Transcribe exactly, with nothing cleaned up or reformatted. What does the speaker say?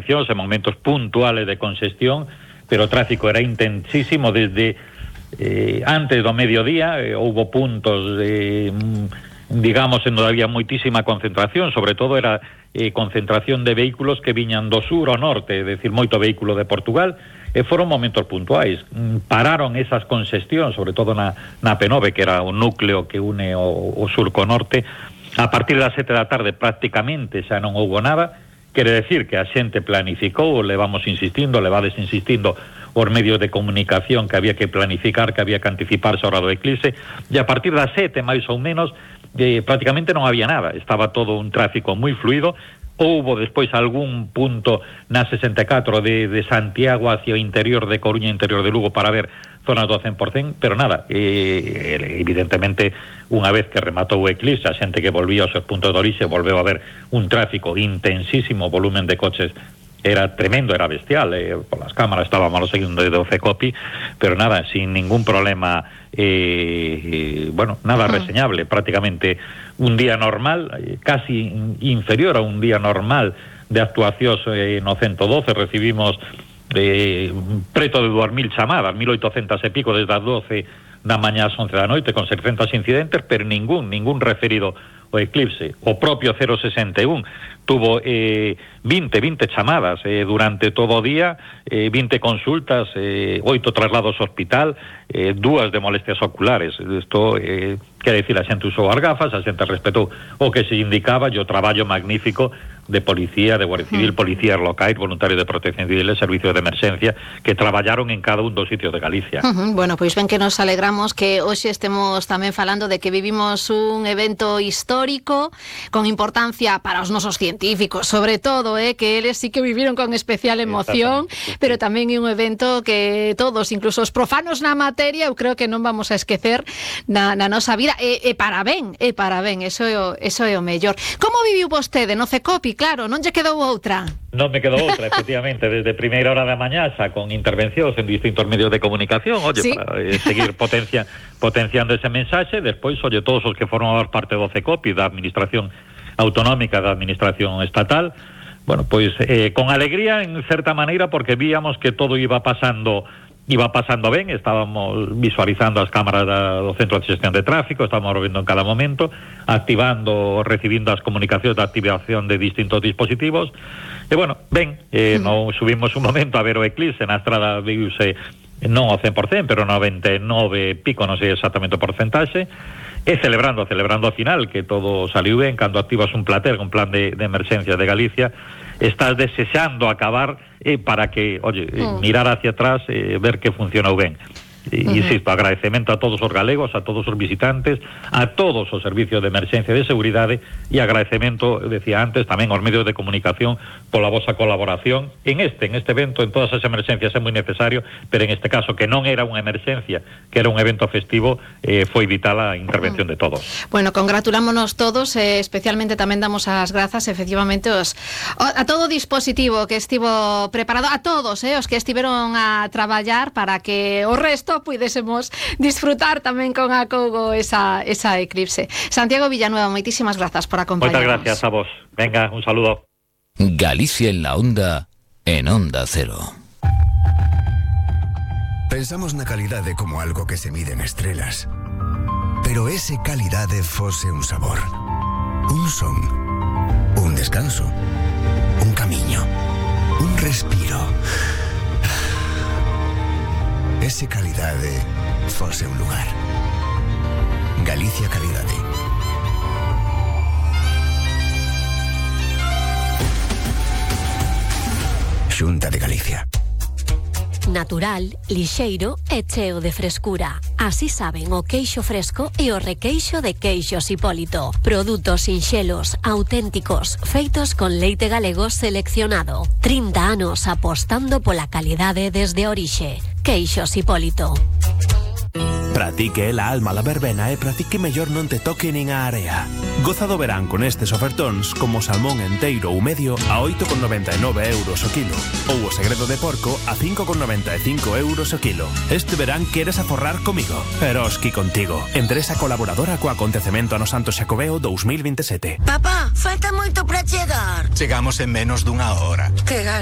intervencións en momentos puntuales de congestión, pero o tráfico era intensísimo desde eh, antes do mediodía. Eh, houve puntos de, digamos, en donde había moitísima concentración, sobre todo era eh, concentración de vehículos que viñan do sur ao norte, é dicir, moito vehículo de Portugal, e foron momentos puntuais. Pararon esas congestións, sobre todo na, na P nove, que era o núcleo que une o, o sur co norte. A partir das sete da tarde prácticamente xa non houbo nada. Quere decir que a xente planificou, levamos insistindo, levades insistindo os medios de comunicación que había que planificar, que había que anticiparse a hora do eclipse, e a partir das sete, máis ou menos, eh, prácticamente non había nada, estaba todo un tráfico moi fluido. Houbo despois algún punto na sesenta e catro de, de Santiago hacia o interior de Coruña, interior de Lugo, para ver zonas do cen por cen, pero nada, eh, evidentemente, unha vez que rematou o eclipse, a xente que volvía aos seus puntos de orixe volveu a ver un tráfico intensísimo, volumen de coches era tremendo, era bestial, eh, por las cámaras estábamos seguindo de doce copi, pero nada, sin ningún problema, eh, eh, bueno, nada uh-huh. reseñable, prácticamente un día normal, eh, casi inferior a un día normal de actuacións eh, no ciento doce. Recibimos eh, preto de dúas mil chamadas, mil oitocentas e pico desde as doce da mañá ás once da noite, con seiscentos incidentes, pero ningún, ningún referido o eclipse. O propio cero sesenta e un tuvo eh, veinte, veinte chamadas eh, durante todo o día, eh, veinte consultas, eh, oito traslados ao hospital, eh, dúas de molestias oculares. Isto eh, quere dicir, a xente usou as gafas, a xente respetou o que se indicaba, e o traballo magnífico de policía, de Guardia Civil, mm. policías locais, voluntarios de protección civil, servicios de emerxencia, que traballaron en cada un dos sitios de Galicia. Uh-huh. Bueno, pois ben que nos alegramos que hoxe estemos tamén falando de que vivimos un evento histórico con importancia para os nosos científicos, sobre todo, eh, que eles sí que viviron con especial emoción, pero tamén é un evento que todos, incluso os profanos na materia, eu creo que non vamos a esquecer na, na nosa vida, e, e para ben, e para ben, eso é o, eso é o mellor. Como viviu vostede no CECOPI? Claro, non lle quedou outra. Non me quedou outra, efectivamente, desde primeira hora da mañá xa con intervencións en distintos medios de comunicación, oye, ¿sí? para eh, seguir potencia, potenciando ese mensaxe. Despois, oye, todos os que forman parte do CECOPI, da Administración Autonómica, da Administración Estatal, bueno, pois eh, con alegría en certa maneira, porque víamos que todo iba pasando iba pasando ben, estábamos visualizando as cámaras da, do Centro de Xestión de Tráfico, estábamos vendo en cada momento, activando, recibindo as comunicacións de activación de distintos dispositivos, e bueno, ben, eh, mm. non subimos un momento a ver o eclipse, na estrada viuse non ao cen por cen, pero noventa e nove pico, non sei exactamente o porcentaxe, e celebrando, celebrando ao final, que todo saliu ben. Cando activas un plater, un plan de, de emerxencia de Galicia, estás desexando acabar eh, para que, oye, mm. mirar hacia atrás, eh, ver que funcionou ben. E, uh-huh. insisto, agradecemento a todos os galegos, a todos os visitantes, a todos os servicios de emerxencia e de seguridade, e agradecemento, decía antes, tamén aos medios de comunicación pola vosa colaboración en este, en este evento. En todas as emerxencias é moi necesario, pero en este caso, que non era unha emerxencia, que era un evento festivo, eh, foi vital a intervención uh-huh. de todos. Bueno, congratulámonos todos, eh, especialmente tamén damos as grazas, efectivamente, os, a todo o dispositivo que estivo preparado, a todos, eh, os que estiveron a traballar para que o resto puidésemos disfrutar tamén con acougo esa, esa eclipse. Santiago Villanueva, moitísimas grazas por acompañarnos. Moitas gracias a vos. Venga, un saludo. Galicia en la onda, en Onda Cero. Pensamos na calidade como algo que se mide en estrelas, pero ese calidade fose un sabor, un son, un descanso, un camiño, un respiro. Ese calidade fose un lugar. Galicia Calidade. Xunta de Galicia. Natural, lixeiro e cheo de frescura. Así saben o queixo fresco e o requeixo de Queixos Hipólito. Produtos sinxelos, auténticos, feitos con leite galego seleccionado. trinta anos apostando pola calidade desde a orixe. Queixos Hipólito. Para ti que é la alma la verbena e para ti que mellor non te toque nin a area. Goza do verán con estes ofertóns como salmón enteiro ou medio a oito con noventa e nove euros o kilo ou o segredo de porco a cinco con noventa e cinco euros o kilo. Este verán queres aforrar comigo? Eroski contigo. Empresa colaboradora co acontecemento ano Santo Xacobeo dous mil vinte e sete. Papá, falta moito para chegar. Chegamos en menos dunha hora. Que gana.